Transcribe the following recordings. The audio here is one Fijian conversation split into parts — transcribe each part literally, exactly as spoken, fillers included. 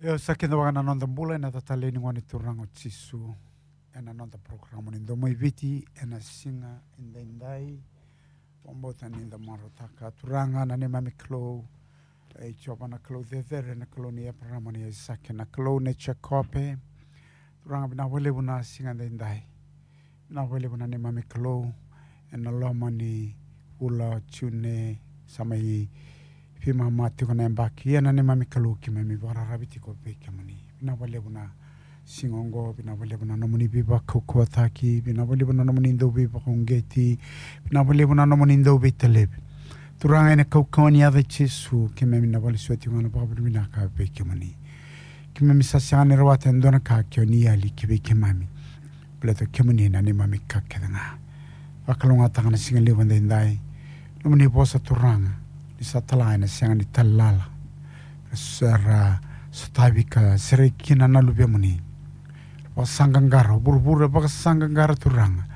Io, sa kidavaka na noda bula ena yaca talei ni Gone Turaga o Jisu. Ena noda porokaramu ni Domo i Viti ena siga edaidai. Vakabauta ni da marautaka. Turaga na neimami Kalou, e Jiova na Kalou cecere, na Kalou ni Eparama, ni Aisake, na Kalou ni Jekope. Turaga, vinaka vakalevu na siga edaidai. Vinaka vakalevu na neimami Kalou, ena loma ni vula o June, sa mai veimama tiko na yabaki. Ia na neimami Kalou, keimami vakararavi tiko vei kemuni. Vinaka vakalevu na siga oqo, vinaka vakalevu na nomuni veivakaukauwataki, vinaka vakalevu na nomuni dau veivakauqeti, vinaka vakalevu na nomuni dau veitalevi. Turaga, ena kaukauwa ni yaca i Jisu, keimami na valesuya tiko ga na vakavinavinaka vei kemuni. Keimami sa sega ni rawata e dua na ka ke o ni yali ki vei keimami. Baleta o kemuni na neimami ka kece ga. Vakalougatataka na siga levu edaidai. Nomuni vosa, Turaga, ni sa tala ena sega ni tala lala. Sa ra sotavi ka sereki kina na luvemuni. Vakasaqaqara, vuravura e vakasaqaqara, Turaga.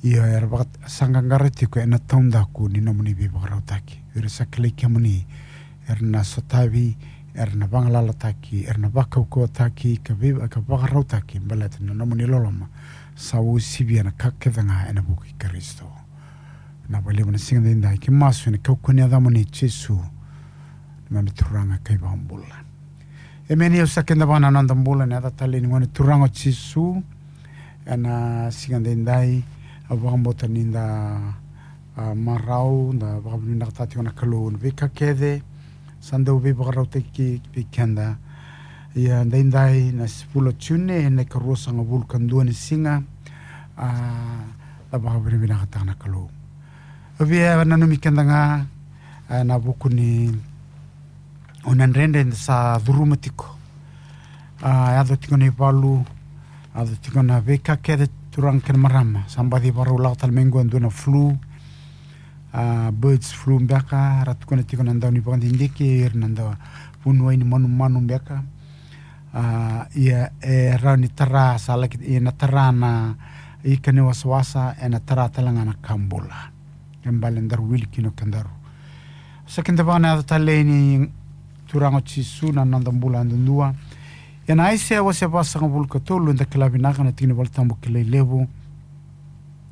Ia era vakasaqaqara tiko ena taudaku ni nomuni veivakarautaki. Era sa kilai kemuni, era na sotavi, era na vagalalataki, era na vakaukauwataki, ka vei-, ka vakarautaki, baleta na nomuni loloma sa usivia na ka kece ga ena vuku i Karisito. Vinaka vakalevu na siga edaidai, keimami masu ena kaukauwa ni yacamuni Jisu, neimami Turaga ka iVakabula. Emeni. Au sa kidavaka na noda bula ena yaca talei ni Gone Turaga o Jisu. Ena siga edaidai, au vakabauta ni da, a, marau, da vakavinavinakataka tiko na Kalou na veika kece sa dau veivakarautaki vei keda. Ia edaidai na vula o June, ena ikaruasagavulu ka dua ni siga, a, da vakavinavinakataka na Kalou. Au via nanumi keda ga, a, ena vuku ni gauna dredre eda sa curuma tiko. A, yaco tiko na ivalu, yaco tiko na veika kece, turaga kei na marama. Sa baci vakarau lako tale mai qo e dua na flu, a, birds flu beka, ra tukuna tiko na dau ni vakadidike, ira na dau vuniwai ni manumanu beka. A, ia e rawa ni tara, sa laki, ia na tara na ika ni wasawasa, ena tara tale ga na ka bula. Ke bale daru wili kina o kedaru. Sa kidavaka na yaca talei ni Turaga o Jisu na noda bula yadudua. Ena Aisea wase vasagavulu ka tolu, eda kila vinaka na tiki ni Volatabu kilai levu.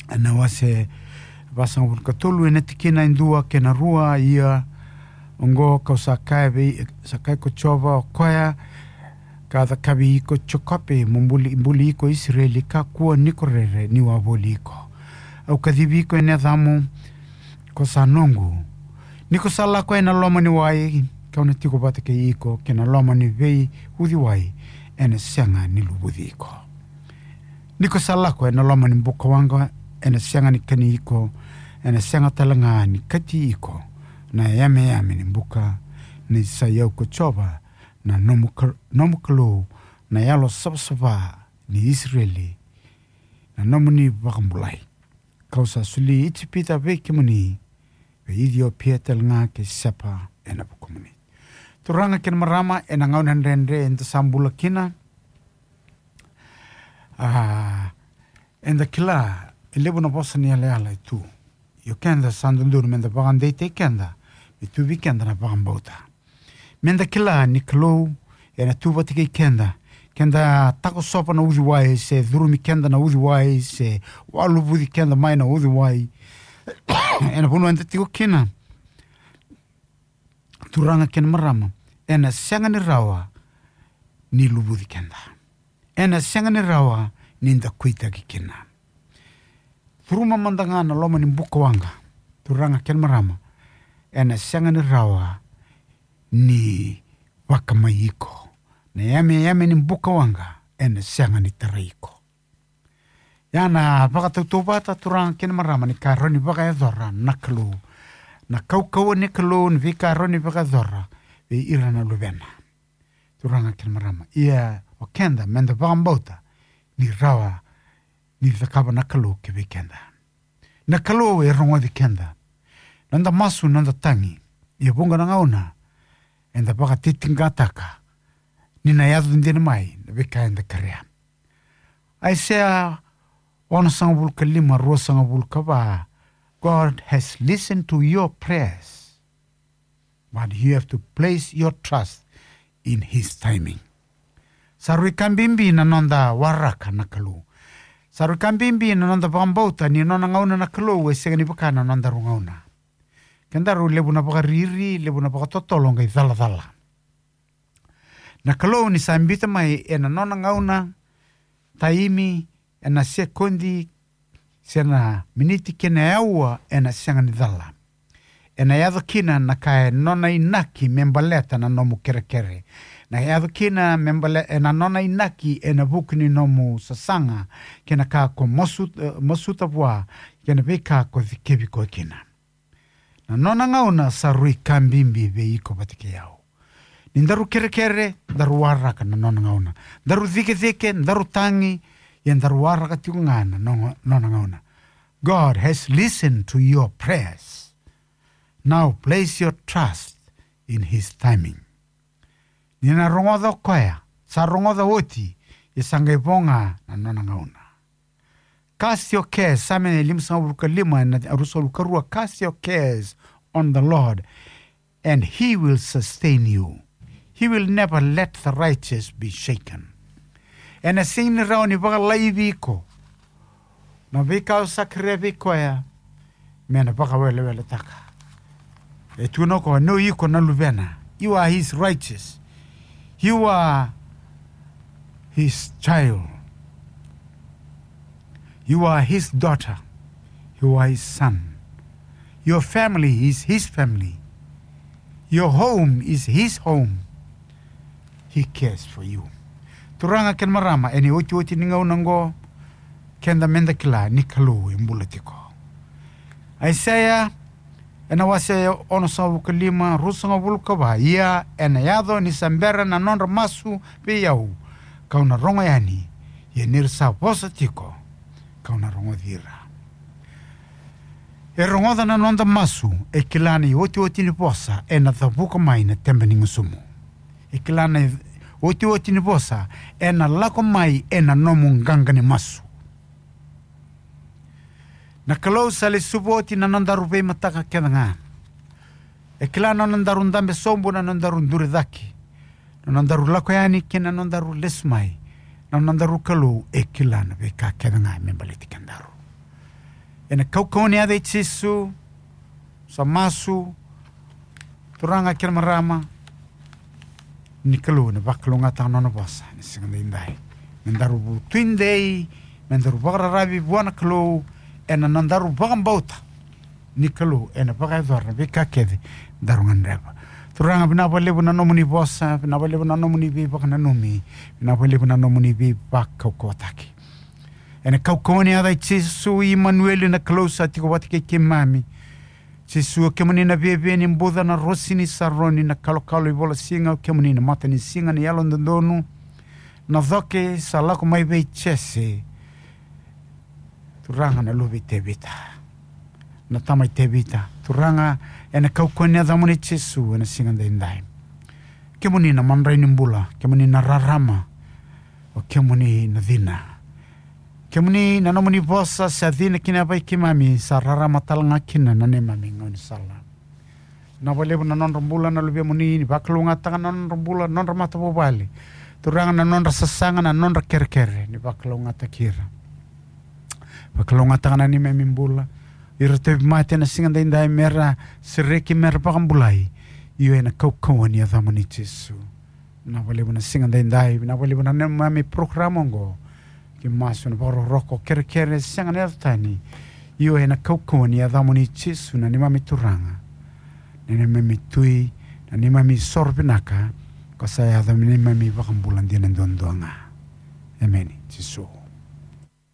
Ena wase vasagavulu ka tolu, ena tikina e dua kei na rua, ia oqo kau sa kaya vei, sa kaya ko Jiova, o koya ka cakavi iko Jekope, mo buli, buli iko Isireli, kakua ni ko rere niu a voli iko. Au kacivi iko ena yacamu, ko sa noqu. Ni ko sa lako ena loma ni wai, kau na tiko vata kei iko, kei na loma ni veiuciwai, ena sega ni luvuci iko. Ni ko sa lako ena loma ni bukawaqa, ena sega ni kani iko, ena sega tale ga ni kati iko na yameyame ni buka, ni sa i au ko Jiova, na nomu ka-, nomu Kalou, na Yalo savasava ni Isireli, na nomuni vakabulai. Kau sa soli Ijipita vei kemuni, vei Iciopia tale ga kei Seba ena vukumuni. Turaga kei na marama, ena gauna dredre eda sa bula kina. A, eda kila e levu na vosa ni yalayala e tu. Ia o keda sa dodonu meda vakadeitaki keda, me tu vei keda na vakabauta. Meda kila ni Kalou ena tu vata kei keda. Keda takosova na uciwai, se curumi keda na uciwai, se waluvuci keda mai na uciwai, ena vanua eda tiko kina, turaga kei na marama, ena sega ni rawa ni luvuci keda. Ena sega ni rawa ni da kuitaki kina. Curuma mada ga na loma ni bukawaqa, turaga kei na marama, ena sega ni rawa ni vakamai iko. Na yameyame ni bukawaqa ena sega ni tarai iko. Ia na vakatautauvata, turaga kei na marama, ni ka rawa ni vakayacora na Kalou. Na kaukauwa ni Kalou, ni veika rawa ni vakayacora vei ira na luvena. Turaga kei na marama, ia o keda meda vakabauta ni rawa ni cakava na Kalou ki vei keda. Na Kalou e rogoci keda. Noda masu, noda tagi. Ia vuqa na gauna eda vakatitiqataka ni na yaco dina mai na veika eda kerea. Aisea onosagavulu ka lima, ruasagavulu ka va, God has listened to your prayers, but you have to place your trust in his timing. Sa rui ka bibi na noda waraka na Kalou. Sa rui ka bibi na noda vakabauta ni nona gauna na Kalou e sega ni vaka na nodaru gauna. Kedaru levu na vakariri, levu na vakatotolo qai calacala. Na Kalou ni sa biuta mai ena nona gauna, taimi, ena sekodi, se na miniti kei na aua ena sega ni cala. Ena yaco kina na ka e nona inaki me baleta na nomu kerekere. Na yaco kina me bale-, ena nona inaki ena vuku ni nomu sasaga, kei na ka ko masu-, eh, masuta vua, kei na veika ko cikevi koya kina. Na nona gauna sa rui ka bibi vei iko vata kei au. Ni daru kerekere, daru waraka na nona gauna. Daru cikecike, daru tagi, ia daru waraka tiko ga na no-, nona gauna. God has listened to your prayers. Now place your trust in his timing. Ni na rogoca o koya, sa rogoca oti, ia sa qai vo ga na nona gauna. Cast your cares, Same limasagavulu ka lima, na ruasagavulu ka rua, cast your cares on the Lord, and he will sustain you. He will never let the righteous be shaken. Ena sega ni rawa ni vakalaivi iko na veika o sa kerea vei koya me na vakaweleweletaka. E tukuna o koya ni o iko na luvena. You are his righteous. You are his child. You are his daughter. You are his son. Your family is his family. Your home is his home. He cares for you. Turaga kei na marama, ena iotioti ni gauna oqo, keda meda kila ni Kalou e bula tiko. Aisea, ena wase onosagavulu ka lima, ruasagavulu ka va, ia ena yaco ni sa bera na nodra masu vei au, kau na rogo yani, ia ni ra sa vosa tiko, kau na rogoci ira. E rogoca na noda masu, e kila na iotioti ni vosa ena cavuka mai na tebe ni gusumu. E kila na iotioti ni vosa ena lako mai ena nomu qaqa ni masu. Na Kalou sa lesuva oti na nodaru veimataka kece ga. E kila na nodaru dabe sobu, na nodaru duri cake, na nodaru lako yani kei na nodaru lesu mai. Na nodaru Kalou e kila na veika kece ga me baleti kedaru. Ena kaukauwa ni yaca i Jisu, sa masu, turaga kei na marama, ni Kalou ena vakalougatataka na nona vosa ena siga daidai. Me daru vu-, tudei, me daru vakararavi vua na Kalou, ena nodaru vakabauta ni Kalou ena vakayacora na veika kece daru gadreva. Turaga, vinaka vakalevu na nomuni vosa, vinaka vakalevu na nomuni veivakananumi, vinaka vakalevu na nomuni veivakaukauwataki. Ena kaukauwa ni yaca i Jisu, Imanueli, na Kalou sa tiko vata kei keimami. Jisu, o kemuni na viaviani buca, na rosi ni Saroni, na kalokalo i vola siga, o kemuni na matanisiga ni yalododonu, na coke sa lako mai vei Jese. Turaga, na luve i Tevita, na tama i Tevita. Turaga, ena kaukauwa ni yacamuni Jisu ena siga daidai. Kemuni na madrai ni bula, kemuni na rarama, o kemuni na cina. Kemuni na nomuni vosa sa cina ki na yavai keimami, sa rarama tale ga kina na neimami gaunisala. Vinaka vakalevu na nodra bula na luvemuni, ni vakalougatataka na nodra bula, nodra matavuvale. Turaga, na nodra sasaga, na nodra kerekere, ni vakalougatataki ira. Vakalougatataka na neimami bula. Ira tauvimate ena siga daidai, me ra sereki, me ra vakabulai. Io, ena kaukauwa ni yacamuni Jisu. Vinaka vakalevu na siga daidai, vinaka vakalevu na neimami porokaramu oqo. Keimami masu ena vakarokoroko, kerekere, sega ni yaco tani. Io, ena kaukauwa ni yacamuni Jisu, na neimami Turaga, na neimami Tui, na neimami soro vinaka, ko sa yaco me neimami iVakabula dina duadua ga. Emeni, Jisu.